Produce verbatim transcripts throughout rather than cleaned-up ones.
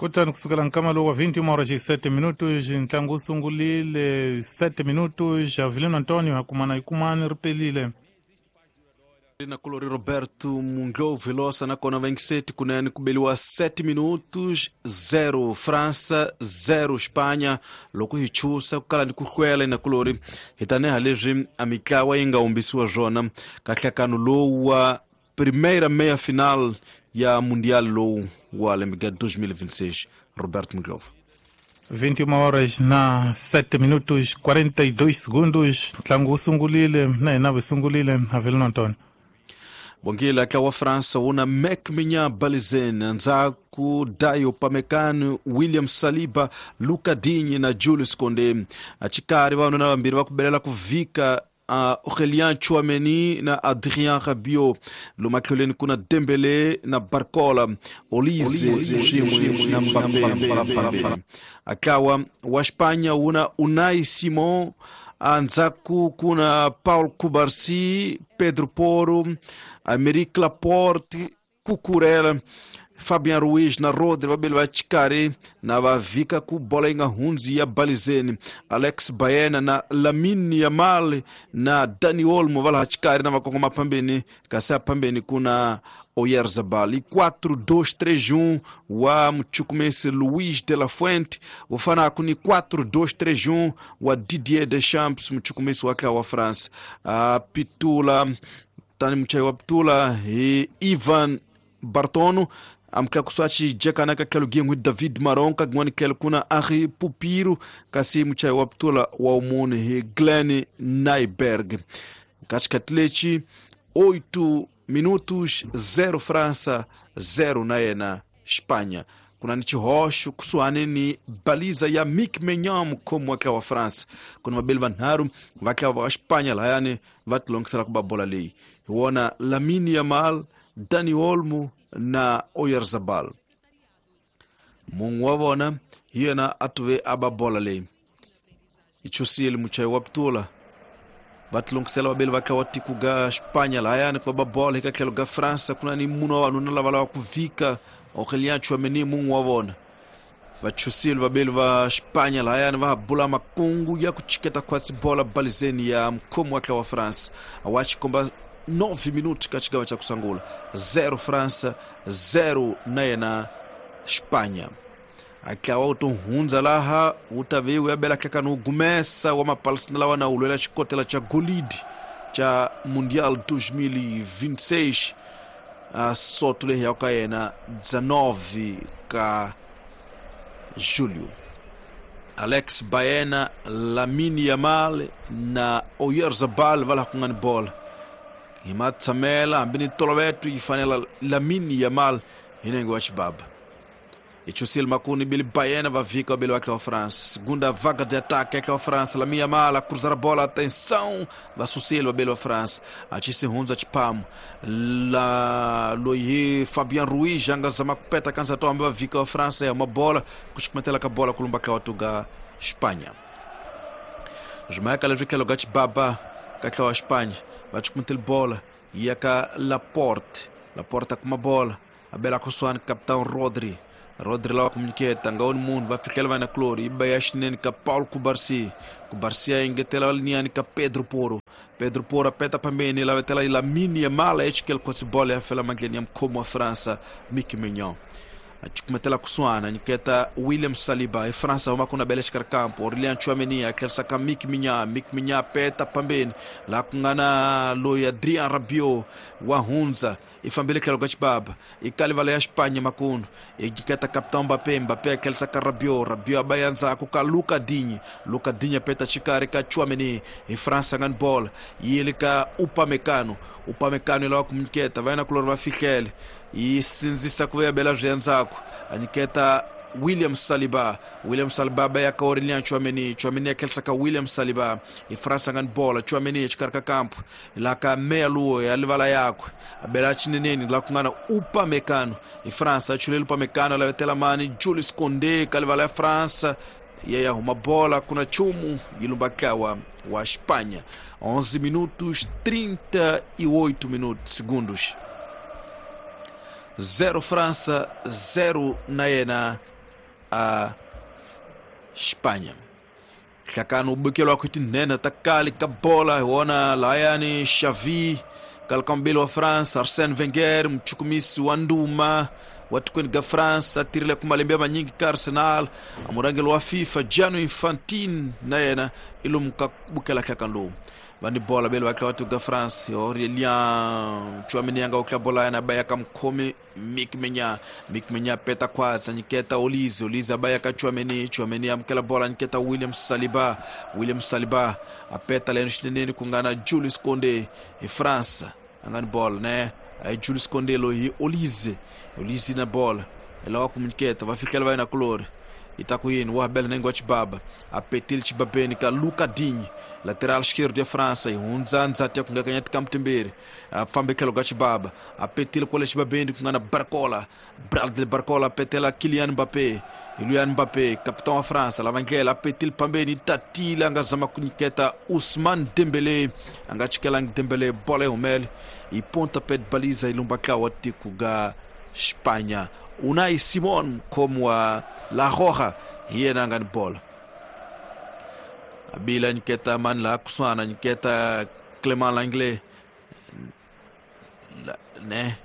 Kutani kusukela nkama lowu wa vinte e uma horas e sete minutos ntlangu wu sungulile sete minutos Avelino Antonio hakumana yikumani ri pelile. Na colori Roberto Munglo Velosa na kona vinte e sete kunene ku beliwa sete minutos, zero França, zero Espanha. Loko hi chusa ku kala ni ku hlwela na colori hi taniha leswi a mitlawa yi nga humbisiwa swona ka nhlakano lowu wa primeira meia final ya Mundial lowu wa lembe ga dois mil e vinte e seis, Roberto Munglo. vinte e uma horas na sete minutos quarenta e dois segundos ntlangu wu sungulile na hina vi sungulile, Avelino Antonio. Bongile, ntlawa wa França wu na Mike Maignan balizeni, ndzhaku Dayot Upamecano, William Saliba, Lucas Digne na Jules Koundé. Axikarhi vavanuna vambirhi va ku belela ku vhika, uh, Aurélien Tchouameni na Adrien Rabiot. Lomu matlhelweni ku na Dembele na Barcola, Olise swin'we na Mbappé. Ntlawa wa Espanha wu na Unai Simon, andzhaku ku na Paul Cubarsí, Pedro Porro, Aymeric Laporte, Cucurella, Fabian Ruiz na Rodri vabeli va xikarhi na va vhika ku bola yi nga hundzi ya balizeni. Alex Baena na Lamine Yamal na Dani Olmo va laha xikarhi na va kongoma phambeni, kasi aphambeni ku na Oyarzabal. I quatro dois três um wa muchukumesi Luis de la Fuente wu fanaku ni quatro dois três um wa Didier Deschamps, muchukumesi wa ntlawa wa France. uh, pitula tani muchayi wa pitula hi Ivan Bartono, amtlakuswa xijekana ka tlhelo gin'we David Maron, ka gin'wani tlhelo ku na Henri Pupiro, kasi muchayi wa pitula wa wumune hi Glenn Nyberg. Ka xikhathi lexi oito minutos, zero França, zero na yena Espanha. Ku na ni xihoxo kusuhani ni baliza ya Mike Maignan, mukhomi wa ntlawa wa France. Ku na vabeli vanharhu va ntlawa wa Espanha lahayani va tilongisela ku ba bola leyi, hi wona Lamine Yamal, Dani Olmo na Oyarzabal. Mun'we wa vona hi yena a tuve a ba bola leyi yi chusile muchayi wa pitula. Va tilongisela vabeli va ntlawa wa tiko ga Espanha lahayani ku va ba bola. Eka tlhelo ga França ku na ni munhu wa vanuna lava lava ku vhika, Aurélien Tchouameni mun'we wa vona. Va chusile vabeli va Espanha lahayani va ha bula makungu ya ku chiketa khwatsi bola balizeni ya mukhomi wa ntlawa wa France. Wa xikomba nove minutos ka xigava xa ku sungula, zero França, zero na yena Espanha. Ntlawa wu to hundza laha wu ta ve wu ya bela hlekani wu gumesa wa mapalestina lawa na wu lwela xikotela xa golidi xa Mundial dois mil e vinte e seis, a soto leyi ya ka yena dezenove ka julho. Alex Baena, Lamine Yamal na Oyarzabal va laha ku nga ni bola hi matshamela hambi ni toloveto yi fanela Lamine Yamal hi nenge wa xibaba. Ichusile makuni bili Baena va vhika bili wa France. Segunda vaga de ataque é France. Lamine Yamal a cruzar a bola, atenção, va susile va wa France. Achise hunza chipamu. La loyi Fabian Ruiz anga zama kupeta kanza to amba vhika wa France ya uma bola kushikumetela ka bola kulumba ka watuga Espanha. Jamaica leswi tlhelo ga chibaba ka tlhelo wa Espanha va chikumetela bola ya ka Laporte. Laporte kuma bola abela kusuhani capitão Rodri. Rodri lava comuniceta nga oni munhu va fihlela va na Clori yi ba ya xinene ka Paul Cubarsí. Cubarsí a engetela linhani ka Pedro Porro. Pedro Porro apeta phambeni lavetela Lamine Yamal exikele khotsi bola ya fela mandleni ya mukhomi wa França Mike Maignan. Achukumetela kusuhana nyiketa William Saliba e França huma kuna bele xikarhi kampo Aurélien Tchouameni a tlherisa ka Mike Maignan. Mike Maignan peta phambeni laha ku nga na loyi Adrien Rabiot wa hundza i fambile tlhelo ka xibaba i kalivala ya Espanha makunu i nyiketa capitão Mbappé. Mbappé a tlherisa ka Rabiot. Rabiot a ba ya ndzhaku ka Lucas Digne. Lucas Digne peta xikarhi ka Tchouameni hi França nga ni bola yi le ka Upamecano. Upamecano yi lava ku nyiketa va yena kulori va fihlele yi sindzisa ku ya bela swi endzhaku a nyiketa William Saliba. William Saliba ba ya ka Aurélien Tchouameni. Tchouameni a tlherisa ka William Saliba hi França nga ni bola. Tchouameni exikarhi ka kampo laha ka meya luwo ya livala yakwe a bela xineneni laha ku nga na Upamecano hi França a chuleli Upamecano a lavetela mani Jules Koundé ka livala ya França ya ya huma bola kuna chumu yi lumba ntlawa wa Espanha. onze minutos trinta e oito minutos segundos, zero França, zero na yena a Espanha. Hlakano bukelwa ku tinene ta kali ka bola hi wona layani Xavi kalkambeli wa France Arsène Wenger mchukumisi wa nduma wa tikweni ga France a tirhile ku malembe manyingi ka Arsenal a murhangeri wa FIFA Gianni Infantino na yena i lomu ka bukela hlakano lowu. Vani bola bele va tla ga France Aurélien Tchouaméni anga ukla bola yana baya ka mkhomi Mik Menya Mik Menya peta kwatsa nyiketa Olise Olise baya ka Tchouaméni Tchouaméni amkela bola nyiketa William Saliba William Saliba apeta leno xineneni ku nga na Jules Koundé hi France anga ni bola ne ay Jules Koundé lo hi Olise Olise na bola ela ku nyiketa va fikela va yena kulori itakuini wa bela nengo chibaba apetil chibabeni ka Luca Digne lateral esquerdo ya França e hundzanza tia kungakanya tikamtimbiri afambe khelo ka chibaba apetil kwale chibabeni kungana Barcola Bradley Barcola apetela Kylian Mbappé Kylian Mbappé capitão wa França lavangela apetil pambeni tatila angazama kunyiketa Ousmane Dembélé angachikela Dembélé bola humele e pontapé de baliza ilumba klawa tikuga Espanha. Unai Simon como a La Roja yena ngani bola abila nyiketa man la kusana nyiketa Clément Langlais ne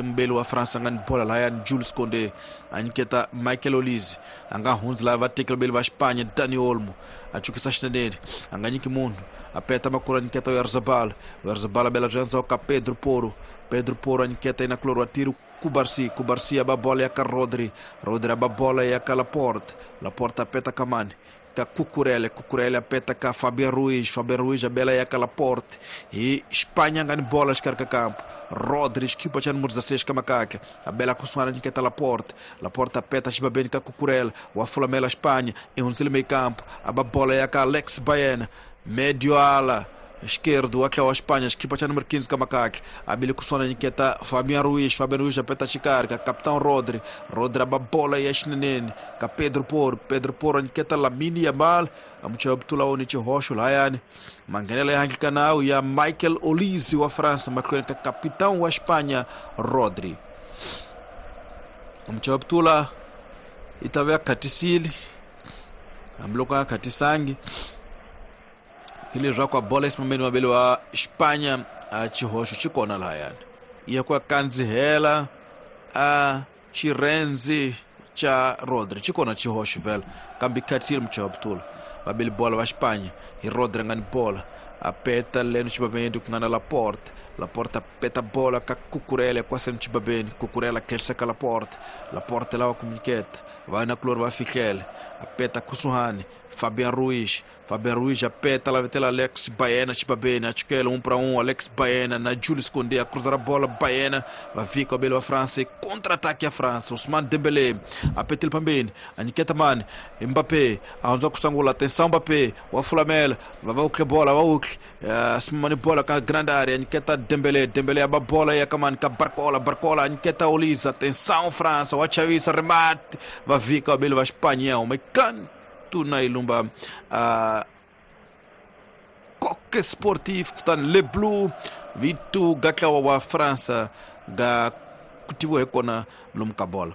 mbele wa France ngani bola la ya Jules Koundé anyiketa Michael Olise anga hunzla va tekela bele va Espanha Dani Olmo achukisa xinene anga nyiki munhu apeta makura nyiketa Oyarzabal Oyarzabal bela janza ka Pedro Porro Pedro Porro anyiketa ina kloro atiro Cubarsí, Cubarsí aba bola ya ka Rodri, Rodri aba bola ya ka Laporte, Laporte apeta Kamani, ka Cucurella, Cucurella apeta ka Fabian Ruiz, Fabian Ruiz abela ya ka Laporte, e Espanha ngani bola escarca campo, Rodri equipa cha número dezesseis ka macaca, abela kusuana niketa Laporte, Laporte apeta chibabeni ka Cucurella, wa fulamela Espanha, e um meio campo, aba bola ya ka Alex Baena, médio ala esquerdo aquela Espanha, equipa cha número quinze Kamakak, abile kusona nyiketa Fabian Ruiz, Fabian Ruiz apeta chikarka, capitão Rodri, Rodri aba bola ya xinenene, ka Pedro Porro, Pedro Porro nyiketa Lamine Yamal, amucha obtula oni chihoxo layani, manganela ya canal ya Michael Olise wa França, maklweni ka capitão wa Espanha Rodri. Amucha obtula itavya katisili, amloka katisangi ile zwa kwa bola esimameni mabele wa Espanha a chihoxo chikona lahayani iya kwa kanzihela a chirenzi cha Rodri chikona chihoxo vela kambi khathile mchawabutula babeli bola wa Espanha hi Rodri ngani bola apeta leno chibabeni kungana Laporte Laporte apeta bola ka Cucurella kwase chibabeni Cucurella kelsa ka Laporte Laporte lawa kumiketa vai na klor va fikhele apeta kusuhani Fabian Ruiz Fabian Ruiz apeta la vetela Alex Baena chibabeni achikela um para um Alex Baena na Jules Koundé a cruzar a bola Baena va fica o belo a França contra-ataque a França Ousmane Dembélé apeta pambeni aniketa mani Mbappé aonza kusangula atenção Mbappé wa Flamel va va bola va ukle simamani bola ka grande área aniketa Dembélé Dembélé aba bola ya kamani ka Barcola Barcola aniketa Olise atenção França wa Xavi remate va fica o belo va Espanha uma canto na ilumba a Coque Sportif kutani Le Bleu vitu gatlawa wa França ga kutiwe kona lumka bola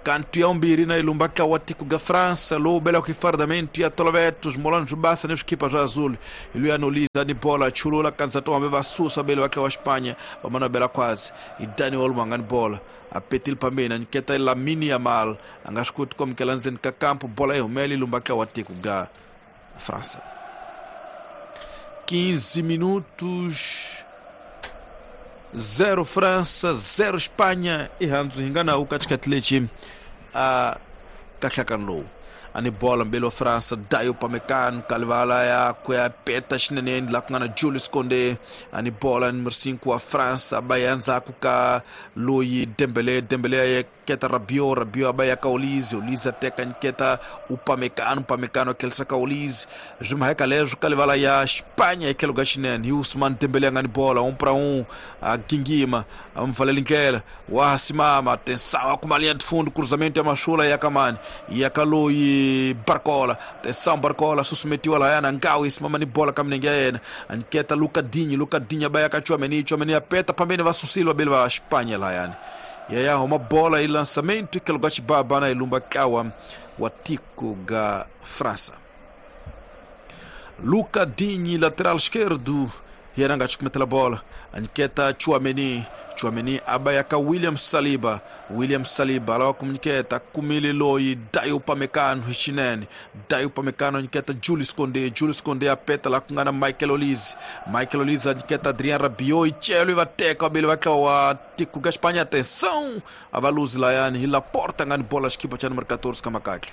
kantu ya umbiri na ilumba tlawa tiku ga França lo bela kifardamento ya tolovetos molano jubasa ne xikipa swa azul iluya noliza ni bola chulula kanza to ambe vasusa bela wa tlawa Espanha vamana bela kwazi idani Olmo ngani bola apetil pambeni niketa Lamine Yamal anga swi koti komukela ndzeni ka kampo bola yi humele ilumba tlawa tiku ga França. quinze minutos zero França zero Espanha e handzu hi nga na katikati lexi a kahlakani lowu ani bola mbele wa França Dayo Upamecano kalivala ya kuya peta xineneni la ku nga na Jules Koundé ani bola número cinco wa França ba endzhaku ka loyi Dembélé Dembélé ya keta Rabiot Rabiot ba ya ka Olise Olise teka nyiketa Upamecano Upamecano kelsa ka Olise swi mhaka leswo kalivala ya Espanha etlhelo ka xinene hi Ousmane Dembélé nga ni bola um para um a gingima a mvaleli ndlela wa simama atenção a kuma linha de fundo cruzamento ya mashula ya kamani ya ka loyi Barcola atenção Barcola susumetiwa lahayana ngawu isimama ni bola ka minenge ya yena aniketa Luca Digne Luca Digne ba ya ka Tchouaméni Tchouaméni apeta pambeni va susile vabeli va Espanha lahayani Ya ya huma bola e lançamento que lugar baba na ilumba kawa wa tiko ga França. Luca Digne, lateral esquerdo, Yeranga chukumetela bola. Aniketa Tchouaméni, Tchouaméni abayaka William Saliba, William Saliba alawa kumniketa kumili loi Dayo Upamecano Hichinene, Dayo Upamecano aniketa Julius Koundé, Julius Koundé apeta la kungana Michael Olise, Michael Olise aniketa Adrien Rabiot, Ichelo ivateka abele vakawa tiku ga Espanha, atenção, avaluzi layani ila porta ngani bola xikipa cha número catorze kamakakle.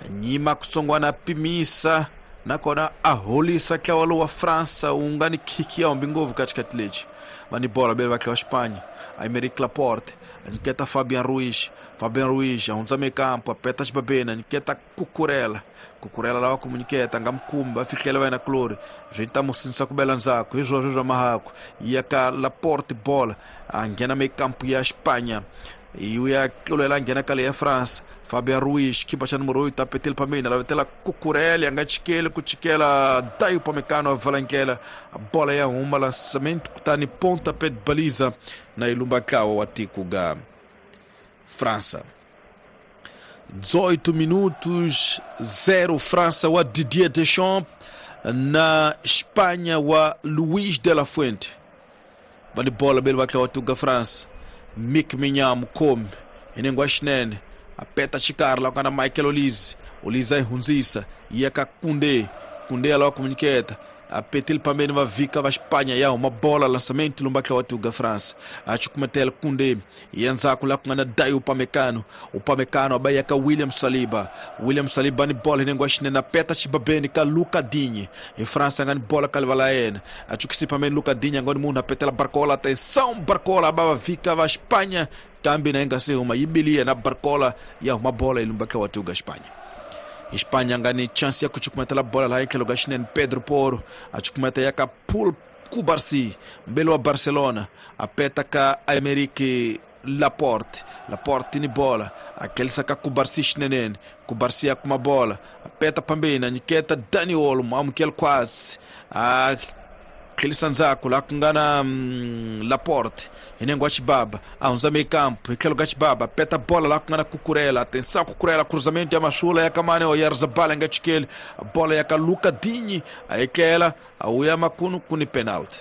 Nyima kusongwana pimisa nakona aholisa kyawalo wa França ungani kiki ya mbingovu katikati lechi vani bola bele vakiwa Espanha Aymeric Laporte aniketa Fabian Ruiz, Fabian Ruiz ahunza mekampo apeta xibabena aniketa Cucurella, Cucurella lawa kumuniketa ngamkumba afikela vaina klori zvita musinsa kubela nzako izvozvo zva mahako yaka Laporte bola angena mekampo ya Espanha e uya kulela ngena kale ya França Fabian Ruiz kipa cha número oito apetele pamena lavetela Cucurella angachikele kuchikela Dayo Upamecano avalankela a bola ya uma lançamento kutani ponta pé de baliza na ilumba kawa wa tiko ga França. Dezoito minutos, zero França wa Didier Deschamps na Espanha wa Luís de la Fuente. Vale bola bele wa tiko ga França. Mick Maignan mukhomi inengwa xinene apeta xikarhi la ku nga na Michael Olise, Olise a yi hundzisa yi ya ka Koundé, Koundé alawa kumuniketa apetele pambeni va vika va Espanha ya huma bola lançamento lumba tla wa tuga França a chukumetela Koundé ya ndzhaku la ku nga na Dayo Upamecano, Upamecano aba ya ka William Saliba, William Saliba ni bola inengwa xinene apeta xibabeni ka Luca Digne e França nga ni bola ka livala yena a chukisi pambeni Luca Digne ngoni munhu apetela Barcola, atenção Barcola aba va vika va Espanha kambe na inga se huma yibilia na Barcola ya huma bola ilumba tla wa tuga Espanha. Espanha ngani chance ya kuchukumetela bola la ikhelo ga xinene Pedro Porro achukumeta ya ka Paul Cubarsí mbele wa Barcelona apeta ka Aymeric Laporte, Laporte ni bola akelisa ka Cubarsí xinene Cubarsí akuma bola apeta pambeni aniketa Dani Olmo amukela quase a tlhelisa ndzhaku la ku nga na mm, Laporte inengwa xibaba a hundza mekampo hi tlhelo ka xibaba peta bola la ku nga na Cucurella, atenção Cucurella cruzamento ya masula ya kamane Oyarzabal nga chikeli bola ya ka Luca Digne a ekela a uya makunu kuni penalty,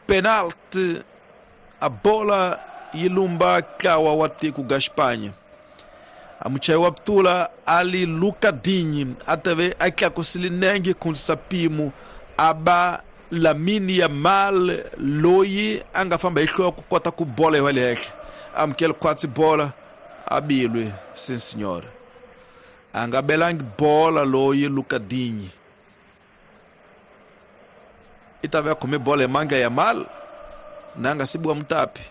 penalty a bola yilumba kawa wa tiko ga Espanha amuchai wa ptula ali Luca Digne atave akyakusili nenge kunsapimo aba Lamine Yamal loyi anga famba hi ku kota ku bola hi le henhla amukela kwatsi bola abilwe sim senhora anga belangi bola loyi Luca Digne itave akome bola manga Yamal nanga sibwa mutapi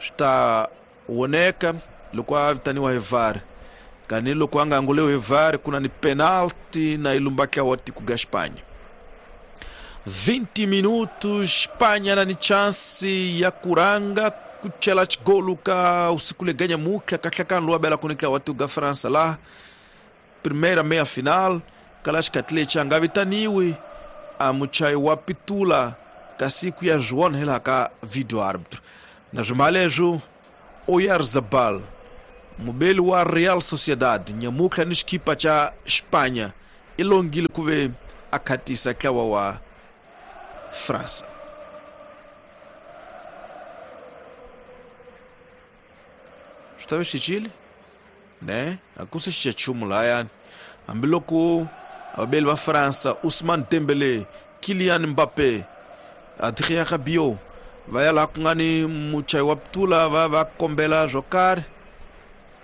sta woneka loko a vitaniwa hi V A R kani loko a nga anguliwi hi V A R kuna ni penalty na ilumbaka wa tiko ga Espanha. Vinte minutos Espanha na ni chance ya kuranga kuchela chigolu ka usiku leganya muka katlaka lwa bela kunika wa tiko ga França lá primeira meia final kalash katlecha nga vitaniwi amuchai wa pitula kasiku ya João hela ka video árbitro na jumalejo Oyarzabal mubeli wa Real Sociedad nyamuka ni xikipa cha Espanha ilongile kuve akhatisa tlawa wa França. Swi xicile ne akuse xichachumu layani hambiloko abeli va França Ousmane Dembélé, Kylian Mbappé, Adrien Rabiot va ya laha ku nga ni muchayi wa ptula va va kombela swo karhi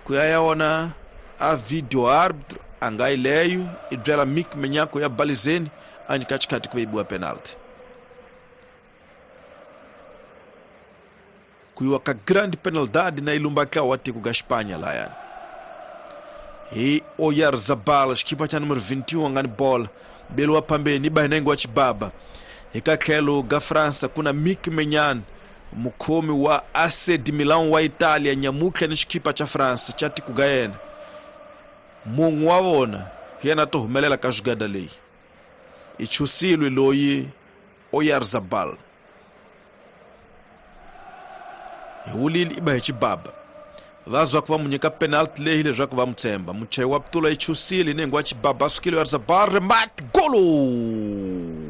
ku ya ya wona a video árbitro a nga yi leyo i byela Mick Maignan ya balizeni a nyika xikhati ku yibiwa penalty ku yiwa ka grande penalidade na ilumba ka wa tiko ga Espanha layani hi Oyarzabal xikipa cha número vinte e um nga ni bola beliwa pambeni ba hinengo wa xibaba hi ka tlhelo ga França kuna Mick Maignan mukhomi wa A C de Milan wa Itália nyamutlha ni xikipa cha França cha tiko ga yena munhu wa vona hi yena to humelela ka jugada leyi i chusilwe loyi Oyarzabal. Hi wulile i ba hi xibaba. Va zwa ku va mu nyika penalty leyi leswaku va mu tshemba. Muchayi wa putula yi chusile nengo wa xibaba a sukile a risa bar mat golo.